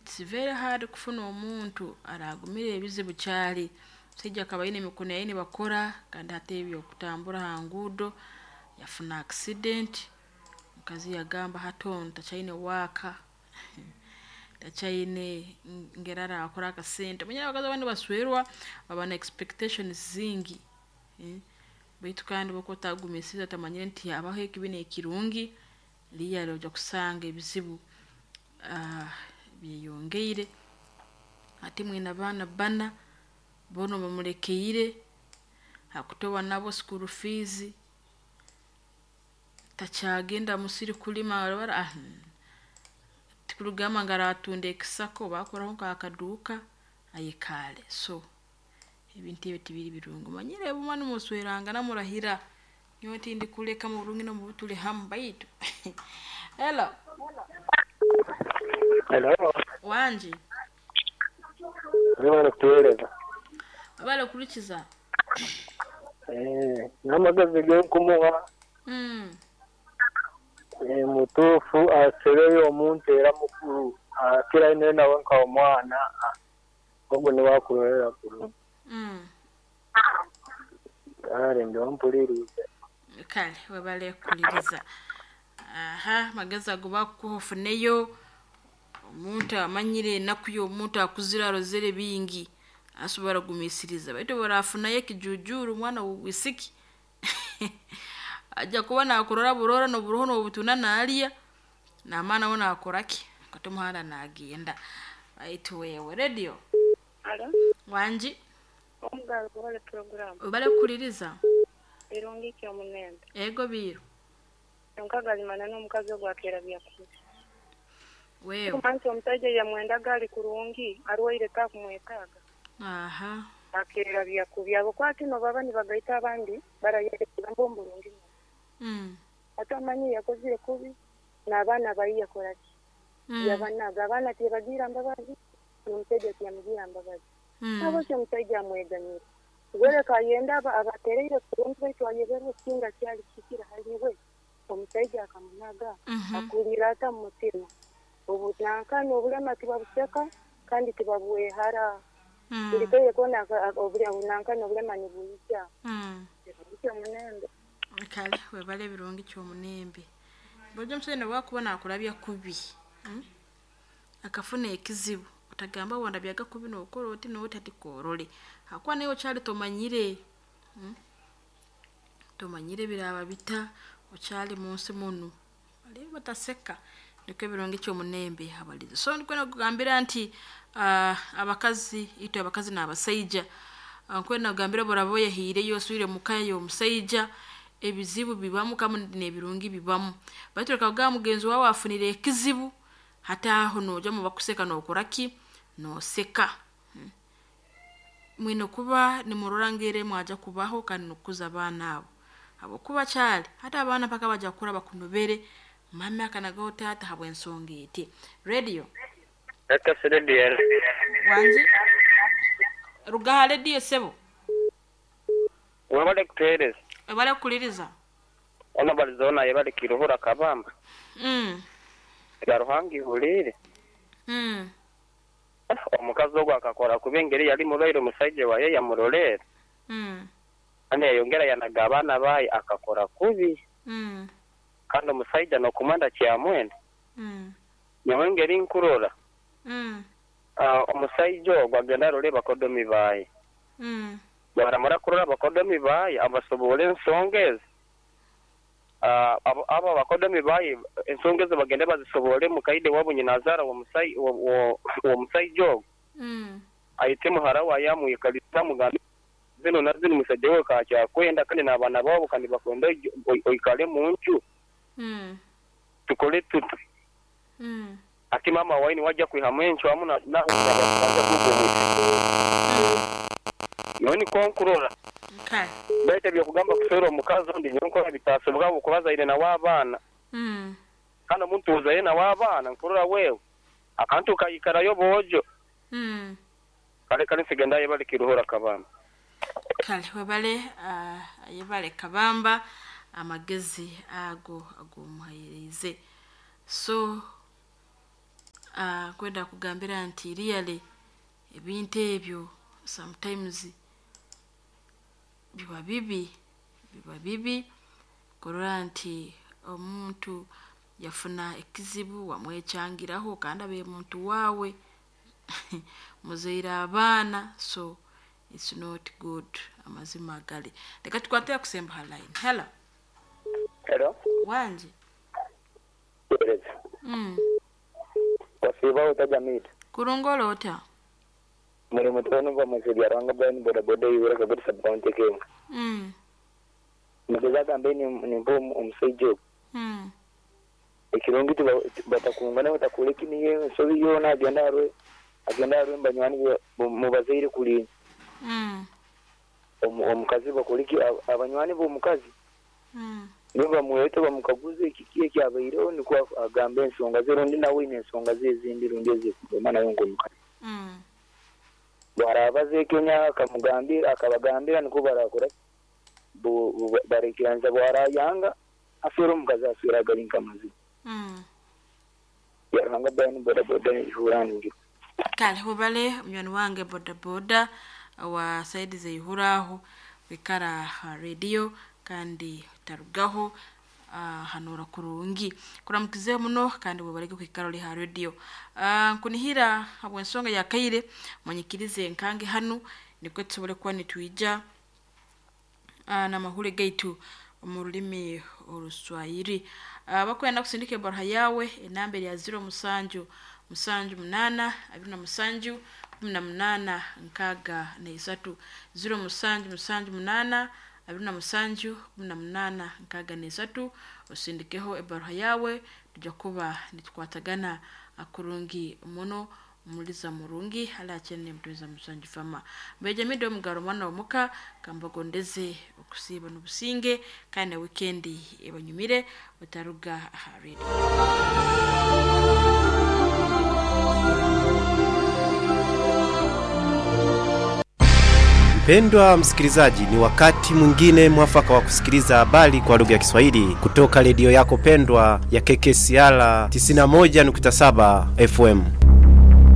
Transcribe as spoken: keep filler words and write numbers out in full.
It's very hard kufuna omuntu aragumira ebizibu kyali. Omusaija akaba aine emikono ye nibakora kandi hati ebyokutambura ha nguudo yafuna accident. Omukazi yagamba hati onu takyaine waaka, takyaine ngeri arakora akasente. Omanyire abakazi abandi baswerwa baba na expectations zingi, baitu kandi obu okuba otagumiisirize otamanyire nti habaho ekibi n'ekirungi, really ojja kusanga ebizibu byeyongeire. Hati mwine abaana bbana, boona bamulekeire, hakutoba nabo school fees, takyagenda musiri kulima, tikugamba ngu aratunda ekisaka oba akoraho nk'akaduuka ayekaale. So ebintu ebi tibiri birungi. Omanyire obu nimuswerangana murahira, nyowe tindikuleka muburungi n'omububi tuli hamu baitu hello. Hello. Wangi. Webale kutuweereza. Webale kuhurikiza. Eh, n'amagezi genkumuha Mm. eh, mutuufu asebeyo omuntu era mukuru akira ine nawe nka omwana ogwo niwe akurorera kurungi. Mm. Kale ndi ompulirize. Kale webale kuhuliriza. Aha, amagezi ago bakukuha ofuneyo omuntu amanyire enaku y'omuntu akuzire arozere bingi asobora kugumiisiriza, baitu obu orafunayo ekijujuru omwana w'obwisiki ajja kuba nakurora burora n'oburoho n'obutunda naalya, naamara nawe naakora ki, akwata omuhanda naagenda. Baitu wewe radio. Alo, Wangi. Omugalo kubale puroguramu. Webale kuhuliriza. Birungi ki omunembe. Ego biiro. Nkaga n'omukazi ogwo akeera byakubi. Wewe. Kumansi omusajja yamwendaga ali kurungi, arwaire takumwetaaga. Aha. Akeera byakubi. Abo kwati no baba nibagaita abandi barayereka mbu burungi. Mm. Ate amanyi yakozire kubi n'abaana bayi yakora ki? Mm. Yabanaga abaana tibagira mbabazi, n'omusajja tiyamugira mbabazi. Mm. Abo ki omusajja amweganyira. Gwereka ayenda aba abatereire kurungi baitu ayeberwe ekinga kyali kikira haliwe. Omusajja akamunaga Mhm. akulira ata mu mutima. Obu nankana obulema tibabuseka kandi tibabwehara. Mm. Buli kaire koona nankana obulema nibuyija. Mm. Ekyo munembe. Kale webale ebirungi ky'omunembe. Bulijjo omusajja nobwakuba nakurabya kubi, mm? Akafuna ekizibu otagamba wandabyaga kubi nookora oti n'oti hati koorore. Hakuba naiwe okyali tomanyire, mm? Tomanyire biraaba bita, okyali munsi munu. Baliyo bataseka nikwo ebirungi ky'omunembe habalize. So ndikwenda kugambira nti uh, abakazi itwe abakazi n'abasaija, nkwenda kugambira obu oraba oyehiireyo oswire muka y'omusaija, ebizibu bibamu kandi n'ebirungi bibamu. Baitu leka kugamba mugenzi waawe afunire ekizibu, hati aho noija mubakuseka nookora ki, nooseka. Mwine kuba nimurora ngeri mwajja kubaho kandi n'okukuza abaana abo. Habwokuba kyali hati abaana mpaka bajja kukura bakunobere, mami akanagaho taata habw'ensonga eti. Radio. Eka radio. Wangi. Ruga ha radio sebo. Webale kutuweereza. Webale kuhuliriza. Ono balizona yebale kiruhura kabamba. Mm. Ya Ruhanga ihulire. Mm. Omukazi ogwo akakora kuba engeri yali mulwaire omusajja waye yamurolera. Mm. Kandi yayongera yanaga abaana baye akakora kubi. Mm. Kandi omusajja n'okumwenda kyamwenda. Mm. Nyowe engeri nkurora. Mm. Uh, omusajja ogwo agenda arore bakodomi baye. Mm. Baramara kurora abakodomi baye abasobora ensonga ezi. Uh, abo abo abakodomi baye ensonga ezo bagende bazisobore mukaide wabo nyinazaara w'omusai w'omusajja ogwo. Mm. Ayite muhara waye amwikaliza amugambe zino na zino musajja we kakyakwenda kandi n'abaana babo kandi bakwenda oikale mu nju. Mm. Tukole tutu. Mm. Ati mama waini wajja kwihamu encu hamu na na bajja kugumwisa. Nyowe niko nkurora. Kale. Baitu ebyokugamba kuswera omukazi ondi nyowe nkora bitasobwa habwokuba azaire nawe abaana. Mm. Kandi omuntu ozaire nawe abaana nkurora wewe akantu kayikarayo boojo. Mm. Kale kale nsigenda yebale kiruhura kabamba. Kale webale uh, yebale kabamba amagezi ago agomuhairize. So uh, kwenda kugambira nti really ebintu ebyo sometimes biba bibi, biba bibi kurora nti omuntu yafuna ekizibu wamwekyangiraho kandi abe muntu waawe muzaire abaana, so it's not good. Amazima gali leka tukwate kusemba ha line. Hello. Hello. Wanje. Tereza. Mm. Wasiba utajamita. Kurungola ota. Muri mutano va masiri aranga bani boda boda yura kabisa sub county ke. Mm. Mugeza gambe ni ni mbo omusaijo. Mm. Ekirungi batakungana batakuleki niye nsobi yona agenda arwe agenda arwe mbanywani mubazaire kuli. Mm. Omukazi bakuliki abanywani b'omukazi. Mm. Niba muweto bamukaguze kiki ekyabaireho niko agambe ensonga ze rundi nawe ine ensonga ze ezindi rundi ezikugema nayo ng'omukazi. Mm. Bwarabaze Kenya akamugambira akabagambira niko barakora barekiranza bwarayanga afera omukazi aswera agalinka amazima. Mm. Yaranga bani boda boda ihurani. Kale hubale munywani wange boda boda wa saidi zeihuraho wikara radio kandi tarugaho uh, hanura kurungi kuramukize muno kandi webareke kwikara uri ha radio. uh, nkunihira habwensonga ya kaire munyikirize nkange hanu nikwe tusobole kuba nitwija uh, n'amahuri gaitu mu rulimi oruswahili. uh, bakwenda kusindika ebaruha yawe enamba ya zero musanju musanju munana abiri na musanju kumi na munana nkaga na isatu, zero musanju musanju munana abiri na musanju kumi na munana nkaga na isatu. Osindikeho ebaruha yawe tujja kuba nitukwatagana akurungi muno muliza murungi ala achene mtumiza musanju fama mbejamide omugaro mwana omuka kambagondeze okusiba n'obusinge kandi na weekendi ebanyumire otaruga aha radio. Mpendwa msikilizaji, ni wakati mwingine mwafaka wa kusikiliza habari kwa lugha ya Kiswahili kutoka redio yako pendwa ya K K C R tisini na moja nukta saba F M.